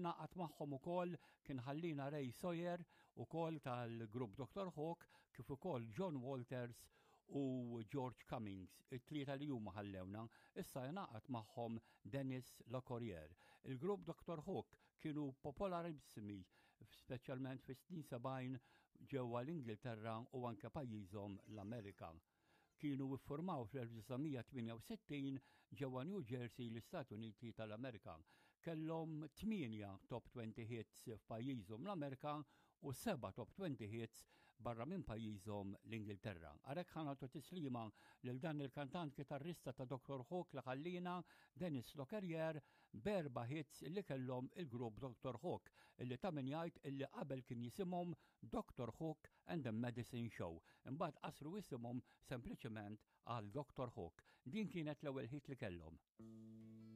Ngħaqad magħhom ukoll kien ħallina Ray Sawyer ukoll tal-grupp Dr. Hook kif ukoll John Walters u George Cummings, it-tlieta li huma ħallewna, issa jingħaqad magħhom Dennis Locorriere. Il-grupp Dr. Hook kienu popolarissimi, speċjalment fis-snin 70 ġewwa l-Ingilterra u anke pajjiżhom l-Amerika. Kienu iffurmaw fl-1968 ġewwa New Jersey l-Istati Uniti tal-Amerika. Kellhom tmienja Top 20 hits f'pajjiżhom l-Amerika u seba' Top 20 hits barra minn pajjiżhom l-Ingilterra. Għalhekk ħa nagħtu tislima lil dan il-kantant kitarrista ta' Dr. Hook li ħallina Dennis Lockerier b'erba' hits li kellhom il-grupp Dr. Hook illi ta' min jgħid illi qabel kien jisimhom Dr. Hook and the Medicine Show. Imbagħad qasru isimhom sempliċement għal Dr. Hook. Din kienet l-ewwel hit li kellhom.